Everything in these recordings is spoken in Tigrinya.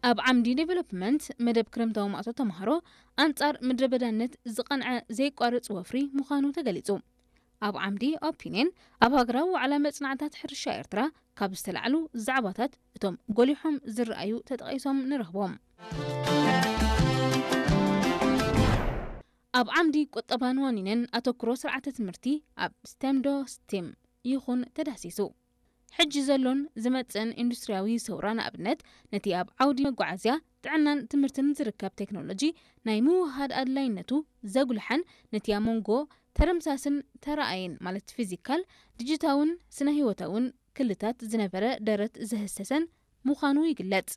ኣብ ዓምዲ ዴቨሎፕመንት መደብ ክረምታዊ ማእቶ ተምሃሮ ኣንጻር ምድረ በዳነት ዝቐንዐ ዘይቋርጽ ወፍሪ ምዃኑ ተገሊጹ። ኣብ ዓምዲ ኦፒንየን ኣብ ሃገራዊ ዋዕላ መጽናዕታት ሕርሻ ኤርትራ ካብ ዝተላዕሉ ዛዕባታት እቶም ጎሊሖም ዝረኣዩ ተጠቒሶም ንረኽቦም። ኣብ ዓምዲ ቁጠባን ዋኒንን ኣተኩሮ ስርዓተ ትምህርቲ ኣብ ስቴም ዶ ስቲም ይኹን ተዳህሲሱ። ሕጂ ዘሎን ዝመጽእን ኢንዱስትሪያዊ ሰውራ ንኣብነት ነቲ ኣብ ዓውዲ መጓዓዝያ፣ ጥዕናን ትምህርትን ዝርከብ ቴክኖሎጂ ናይ ምውህሃድ ኣድላይነቱ ዘጉልሐን ነቲ ኣብ መንጎ ተረምሳስን ተራኣየን ማለት ፊዚካል፣ ዲጂታውን ስነ ህይወታውን ክልታት ዝነበረ ደረት ዘህሰሰን ምዃኑ ይግለጽ።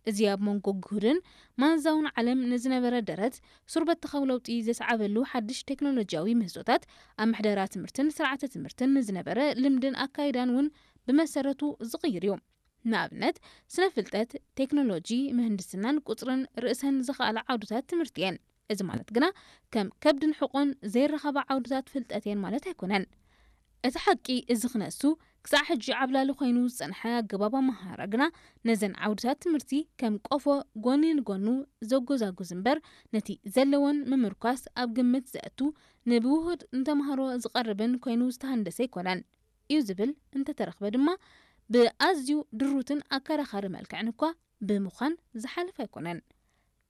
እዚ ኣብ መንጎ ግሁድን ማንዛውን ዓለም ንዝነበረ ደረት ሱር በተኻዊ ለውጢ ዘስዓበሉ ሓድሽ ቴክኖሎጂያዊ ምህዞታት ኣብ ምሕደራ ትምህርትን ስርዓተ ትምህርትን ንዝነበረ ልምድን ኣካይዳን እውን ብመሰረቱ ዝቕይር እዩ። ንኣብነት ስነ ፍልጠት፣ ቴክኖሎጂ፣ ምህንድስናን ቁጽርን ርእሰን ዝኸኣላ ዓውድታት ትምህርቲ እየን። እዚ ማለት ግና ከም ከብድን ሕቆን ዘይረኸባ ዓውድታት ፍልጠት እየን ማለት ኣይኮነን። እቲ ሓቂ እዚ ክነሱ ክሳዕ ሕጂ ዓብላሊ ኮይኑ ዝጸንሐ ኣገባብ ኣመሃህራ ግና ነዘን ዓውድታት ትምህርቲ ከም ቆፎ ጎኒ ንጎኑ ዘጎዛጉዝ እምበር ነቲ ዘለወን ምምርኳስ ኣብ ግምት ዘእቱ ንብውሁድ ንተምሃሮ ዝቐርብን ኮይኑ ዝተሃንደሰ ኣይኮነን እዩ ዝብል እንተተረኽበ ድማ ብኣዝዩ ድሩትን ኣከራኻሪ መልክዕን እኳ ብምዃን ዝሓልፍ ኣይኮነን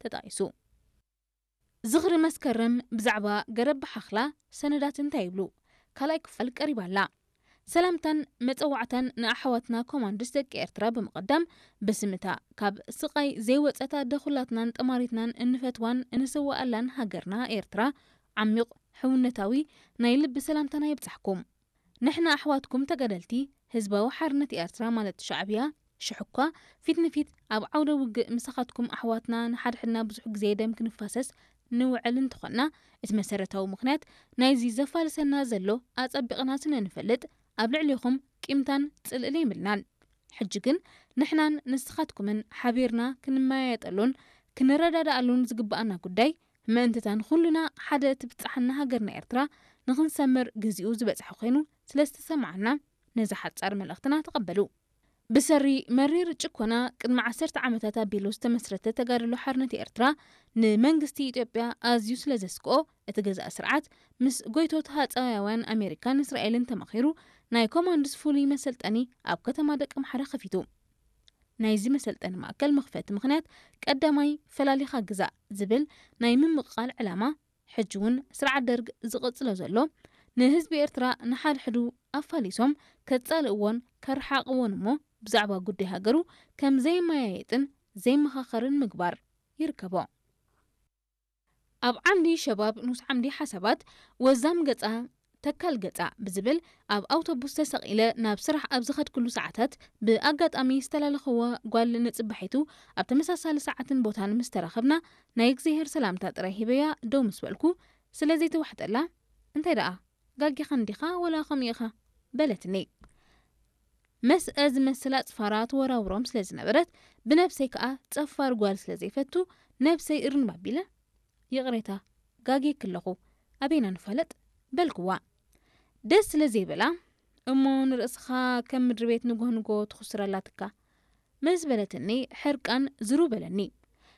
ተጣቒሱ። ዝኽሪ መስከረም ብዛዕባ ገረብ ብሓኽላ ሰነዳት እንታይ ይብሉ? ካልኣይ ክፋል ቀሪባ ኣላ። ሰላምታን መጸዋዕታን ንኣሕዋትና ኮማንድስ ደቂ ኤርትራ ብምቕዳም ብስምታ ካብ ስቓይ ዘይወጸት ኣደ ኩላትናን ጠማሪትናን እንፈትዋን እንስዋኣላን ሃገርና ኤርትራ ዓሚቕ ሕውነታዊ ናይ ልቢ ሰላምታና ይብጻሕኩም። ንሕና ኣሕዋትኩም ተጋደልቲ ህዝባዊ ሓርነት ኤርትራ ማለት ሻዕብያ ሽሕኳ ፊት ንፊት ኣብ ዓውደ ውግእ ምሳኻትኩም ኣሕዋትና ንሓድሕድና ብዙሕ ግዜ ደም ክንፋሰስ ንውዕል እንተኾንና እቲ መሰረታዊ ምኽንያት ናይዚ ዘፋልሰና ዘሎ ኣጸቢቕና ስለ ንፈልጥ ኣብ ልዕሊኹም ቂምታን ጽልእን የብልናን። ሕጂ ግን ንሕናን ንስኻትኩምን ሓቢርና ክንመያየጠሉን ክንረዳዳኣሉን ዝግብኣና ጉዳይ ምእንትታን ኩልና ሓደ ትብጻሓና ሃገርና ኤርትራ ንኽንሰምር ግዚኡ ዝበጽሐ ኮይኑ ስለ ዝተሰምዓና ነዚ ሓጻር መልእኽትና ተቐበሉ። ብሰሪ መሪር ጭኮና ቅድሚ ዓሰርተ ዓመታት ኣቢሉ ዝተመስረተ ተጋድሎ ሓርነት ኤርትራ ንመንግስቲ ኢትዮጵያ ኣዝዩ ስለ ዘስክኦ እቲ ገዛኢ ስርዓት ምስ ጎይቶት ሃጸያውያን ኣሜሪካን እስራኤልን ተማኺሩ ናይ ኮማንድስ ፍሉይ መሰልጠኒ ኣብ ከተማ ደቀምሓረ ከፊቱ። ናይዚ መሰልጠኒ ማእከል መኽፈቲ ምኽንያት ቀዳማይ ፈላሊኻ ግዛእ ዝብል ናይ ምምቕቓል ዕላማ ሕጂ እውን ስርዓት ደርግ ዝቕጽሎ ዘሎ ንህዝቢ ኤርትራ ንሓድሕዱ ኣፋሊሶም ከጻልእዎን ከረሓቕዎን እሞ ብዛዕባ ጉዳይ ሃገሩ ከም ዘይመያየጥን ዘይመኻኸርን ምግባር ይርከቦ። ኣብ ዓምዲ ሸባብ ንኡስ ዓምዲ ሓሳባት ወዛም ገጻ ተካል ገጻ ብዝብል ኣብ ኣውቶቡስ ተሰቒለ ናብ ስራሕ ኣብ ዝኸድኩሉ ሰዓታት ብኣጋጣሚ ዝተላለኽዋ ጓል ንጽባሒቱ ኣብ ተመሳሳሊ ሰዓትን ቦታን ምስ ተራኸብና ናይ እግዚኣብሔር ሰላምታ ጥራይ ሂበያ ደው ምስ በልኩ ስለ ዘይተዋሕጠላ እንታይ ደኣ ጋጊኻ እንዲኻ ወላ ከምኡ ኢኻ በለትኒ። መስአ ዝመስል ኣጽፋራ ትወራውሮም ስለ ዝነበረት ብነብሰይ ከኣ ጸፋር ጓል ስለ ዘይፈቱ ነብሰይ እርንብ ኣቢለ ይቕሬታ ጋግየኪ ኣለኹ ኣበይና ንፋለጥ በልክዋ። ደስ ስለ ዘይበላ እሞ ንርእስኻ ከም ምድሪ ቤት ንጎህ ንጎ ትኹስር ኣላትካ ምስ በለትኒ ሕርቃን ዝሩ በለኒ።